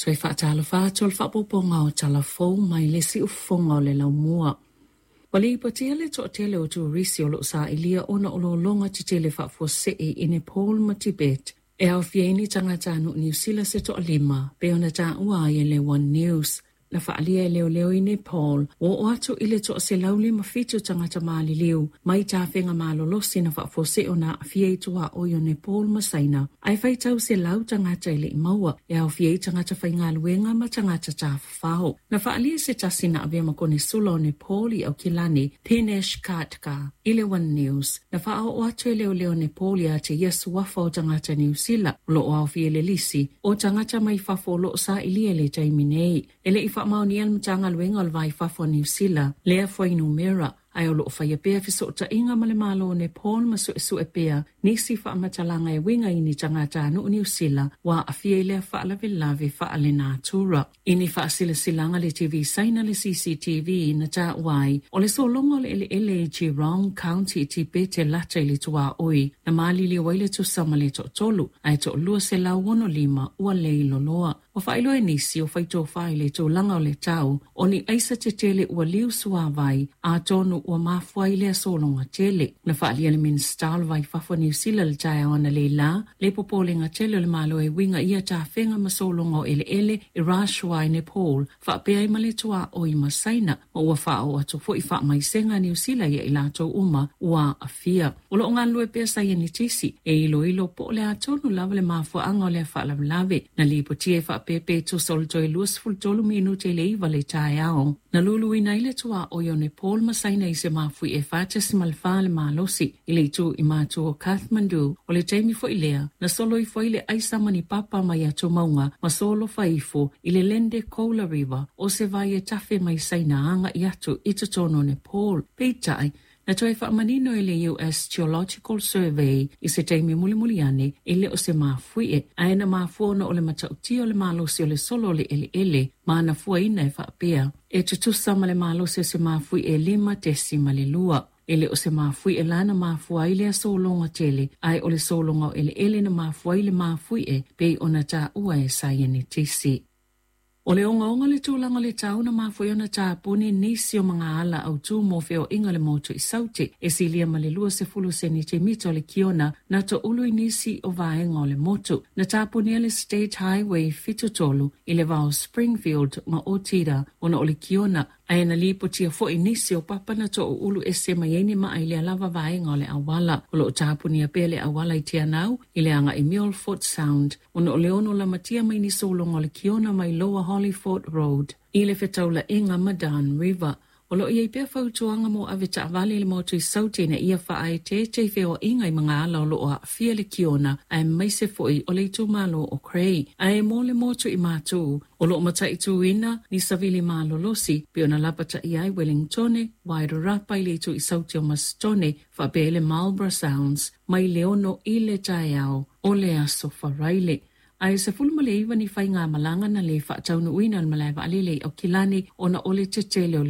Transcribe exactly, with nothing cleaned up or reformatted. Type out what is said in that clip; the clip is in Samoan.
Toe faatalofa atu le faapopoga o talafou mai le siufofoga o le laumua. Ua lipotia le toatele o turisi o loo sailia ona o lologa tetele faafuasei i Nepal ma Tibet e aofia ai ni tagatanuu Niu Sila se toalima pei ona taua ai e le One News. Na faaalia e leoleo i Nepal ua oo atu i le toaselau lima fitu tagata maliliu mai tafega malolosi na faafuasei ona aafia i tuaoi o Nepal ma Saina ae faitau selau tagata e le i maua e aofia ai tagata faigaluega ma tagata tafafao. Na faaalia se tasi na avea ma konesula o Nepal i Aukilani, Dinesh Khadka, i le One News. Na faaoo atu e leoleo Nepal ia te ia suafa o tagata Niu Sila o loo aofia i le lisi o tagata mai fafo o loo sailia i le taimi nei. E le i faamaonia le Matagaluega o le Va i Fafo o Niu Sila lea fuainumera ae o loo faia pea fesootaiga ma le Malo o Nepal ma suesue pea nisi faamatalaga e uiga i ni tagatanuu Niu Sila ua aafia i lea faalavelave faalenatura. I ni faasilasilaga le T V Saina le C C T V na taua ai o le sologa o le eleele i Jirong County i Tibete lata i le tuaoi na maliliu ai le tusa ma le toatolu ae toalua selau ono lima ua leiloloa. Ua faailoa e nisi o faitofa i le tulaga o le tau o ni aisa tetele ua liu suavai atonu ua mafua i lea sologa tele. Na faaalia le Minista o le Va i Fafo Niu Sila le taeao analeila le popolega tele o le Malo e uiga ia tafega ma sologa o eleele i Rasuwa i Nepal faapea ai ma le tuaoi ma Saina ma ua faaoo atu foi faamaisega a Niu Sila ia i latou uma ua aafia. O loo galulue pea saienitisi e iloilo po o le atonu lava le mafuaaga o lea faalavelave. Na lipotia e faapepe tusa o le toe luasefulu tolu minute i le iva le taeao. Na luluina ai le tuaoi o Nepal ma Saina i se mafui e fa tesimal fa le malosi i le itu i matu o Kathmandu. O le taimi foi lea, na solo ifo ai le aisa ma ni papa mai atu maunga ma solo faifo i le Lende Kola River o se vai e tafe mai Saina aga i atu i totonu o Nepal. Peitai, na toe faamanino e le U S Geological Survey i se taimi mulimuli ane e le o se mafuie, ae na mafua ona o le matautia o le malosi o le solo o le eleele ma na fuaina e faapea e tutusa ma le malosi o se mafui e lima tesi ma le lua. E le o se mafui e lana mafua ai lea sologa tele, ae o le sologa o eleele na mafua ai le mafui e pei ona taua e saienitisi. O le ongaonga le tulaga le tau na mafua ai ona tapuni nisi o magaala autū mo feoaiga le motu i Saute e silia ma le luasefulu senitimita o le kiona na toulu i nisi o vaega o le motu. Na tapunia le State Highway fitu tolu i le vao Springfield ma Otira ona o le kiona ae na lipotia foi nisi o papa na toulu ese mai ai ni maa i lea lava vaega o le auala. O loo tapunia pea le auala i Te Anau i le aga i Milford Sound ona o le ono lamatia mai ni sologa o le kiona mai Lower Hollyford Road i le fetaulaiga ma Dan River. O loo iai pea fautuaga mo ave taavale i le motu i Saute ina ia faaeteete i feoaiga i magaala o loo aafia le kiona aemaise foi o le itumalo o Cray. Ae mo le motu i Matū o loo mataituina ni savili malolosi pe ona lapataia ai Wellingtone, Wairarapa i le itu i Saute o Mastone faapea i le Marlborough Sounds mai le ono i le taeao o le aso Faraile. Ae sefulu ma le iva ni faigamalaga na le faataunuuina o le malae vaalele i Aukilani ona o le tetele o le